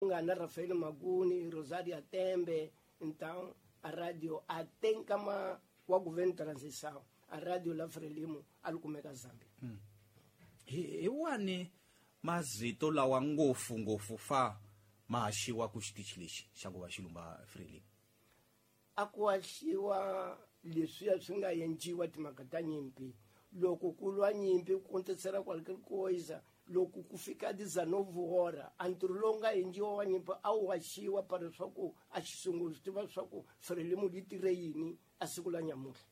Nga na Rafael Maguni, Rosaria Tembe, então a radio até nkama wa governo de transição, a radio la Frelimo a li kumeka Zambia. Hi wani mazito lawa ngopfu ngopfu fa ma haxiwa ku xitichi lexi xa ku va xilumba Frelimo? A ku haxiwa leswiya swi nga endliwa timhaka ta nyimpi. Loko ku lwa nyimpi ku kontesela qualquer coisa, loko ku fika 19 hora, a ntirho lowu nga endliwa wa nyimpi a wu haxiwa para leswaku a xisungulu swi tiva leswaku Frelimo yi tirhe yini a siku la nyamutlha.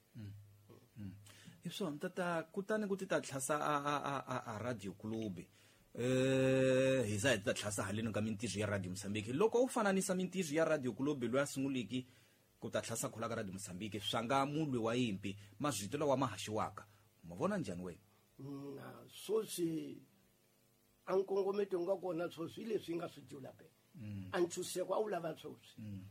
Hi swona tata, kutani ku ti ta tlhasa a radio club. Hi za hi ti ta tlhasa haleni ka mintirho ya Radio Mozambique. Loko u fananisa mintirho ya Radio Club loyi a sunguliki ku ta tlhasa khula ka Radio Mozambique, swa nga mulwi wa yimpi, mazwito lawa ma haxiwaka, ma vona njhani wena? Na swoswi a nkongometo nga kona swoswi leswi nga swi jula pe. A ntshuseko a wu lava swoswi.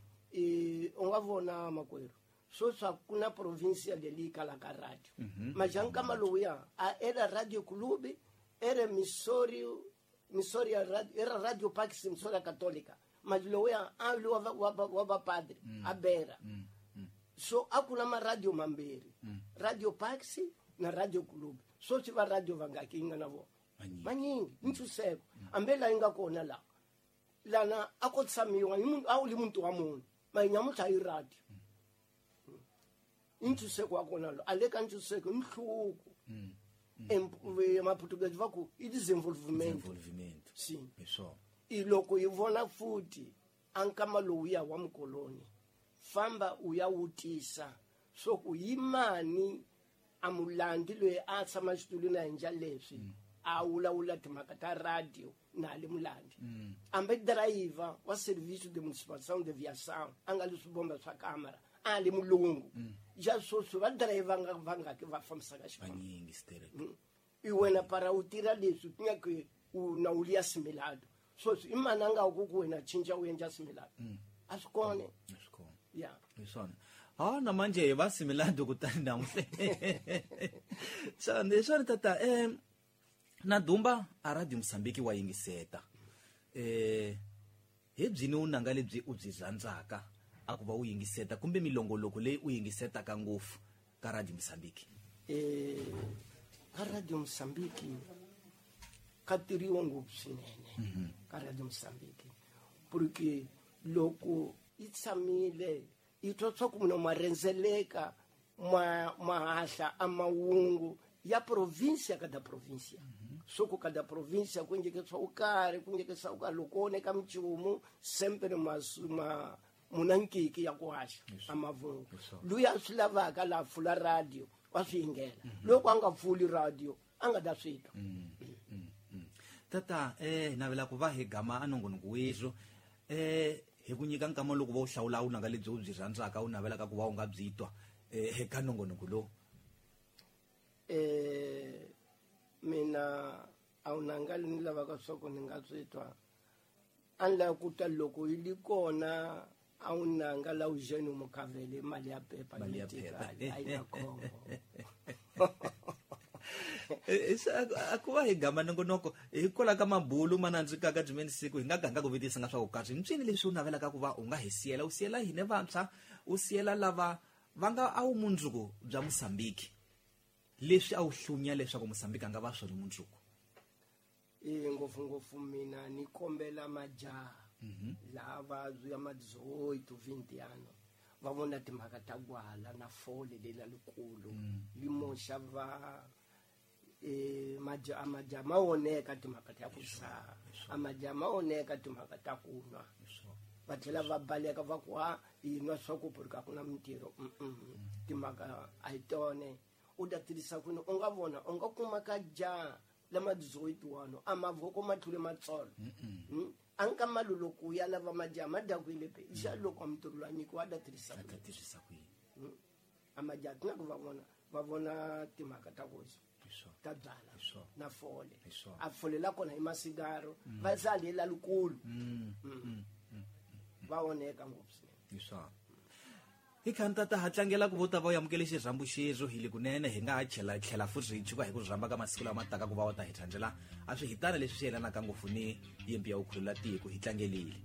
U nga vona makwerhu, swoswi a ku na provincia leyi kalaka radio. Majankama lowuya a era Radio Club, era Missouri, Missouri ya radio, era Radio Pax Missouri Católica. Mas lowuya a li wa va padre, a bera. So a ku na ma radio mambirhi, Radio Pax na Radio Club. Swoswi va radio vangaki yi nga na vona? Manyingi. Manyingi, ntshuseko. Hambi laha yi nga kona laha, lana a ko tshamiwa hi munhu, a wu li muntu wa munhu, ma nyamutlha hi radio. I ntshuseko wa kona lo, a le ka ntshuseko i nhluvuko. Maportuguese va ku i desenvolvimento. Desenvolvimento. Sim. Hi swona. I loko hi vona futhi a nkama lowuya wa mukoloni, famba u ya wutisa swo ku yi mani a mulandi loyi a tshama xitulwini a endla leswi, a vulavula timhaka ta radio na le mulandi. Hambi driver wa serviço de municipalização de aviação a nga le swibomba swa kamara, a le mulungu. Ja swoswi va driver nga va nga ke va fambisaka xifambo. Vanyingi sterek. I wena para u tirha leswi ku nga ku u na u liya similado. Swoswi i mani a nga ku ku wena cinca u endla similado? A swi kona. A swi kona. Ya. Hi swona. Ha na manje hi va similado kutani namuntlha. Swona, hi swona tata, na Dumba a Radio Mozambique wa yingiseta. Hi byini vunanga lebyi u byi rhandzaka a ku va u yingiseta kumbe milongoloko leyi u yingisetaka ngopfu ka Radio Mozambique? Ka Radio Mozambique ka tirhiwa ngopfu swinene ka Radio Mozambique, porque loko yi tshamile yi twa swa ku munhu ma rhendzeleka ma hahla a mahungu ya provincia kada provincia. Swo ku kada provincia ku endleke swa ku karhi, ku endleke swa ku karhi, loko ku oneka minchumu sempre ma muna nkiki ya ku haxa a mavungu. Luya a swi lavaka laha pfula radio wa swi yingela, loko a nga pfuli radio a nga ta swi twa. Tata, navela ku va hi gama a nongonoko weswo, hi ku nyika nkama loko va u hlawula vunanga lebyi u byi rhandzaka u navelaka ku va u nga byi twa eka nongonoko lowu. Mina a vunanga ni lavaka swa ku ni nga swi twa, a ni lava ku twa loko yi li kona a vunanga la Eugene Mukavele, mali ya pepa. Mali ya yi pepa. A yi na khombo. A ku va hi gama nongonoko hikwalaho ka mabulu ma nandzikaka byimeni siku hi nga ganga ku vutisa nga swa ku kahle mpyini leswi u navelaka ku va u nga hi siyela, u siyela hine vantshwa, u siyela lava va nga a wu mundzuku bya Mozambique, leswi a wu hlunya leswaku Mozambique a nga va swona mundzuku? Ngopfungopfu mina ni kombela majaha lava ya ma 18 20 ano va vona timhaka ta gwala na fole lela likulu li moxa va majaha ma oneka timhaka ta ku dzaha, a majaha ma oneka timhaka ta ku nwa, va tlhela va baleka va ku ha hi nwa swa ku porque a ku na mintirho. Timhaka a hi tone u ta tirhisa kwini. U nga vona u nga kuma ka jaha lama 18 ano a mavoko ma tlule matsolo. A nka mali loko ya lava majaha ma dakwile pe xa loko a mintirho loyi a nyikiwa a ta tirhisa A ta tirhisa kwini? A majaha ti nga ku va vona va vona timhaka ta ku ta byala na fole. A fole la kona hi masigaro va za lela likulu va oneka ngopfu swinene. Hi swona. Hi khanta ta ha tlangela ku vo ta va u amukele xirhambo xexo hi le kunene hi nga ha tlhela tlhela futhi hi chuka hi ku rhamba ka masiku lama taka ku va wa ta hi tlhandlela a swi hitana leswi swi yelanaka ngopfu ni yimpi ya vukhulula tiko. Hi tlangelile.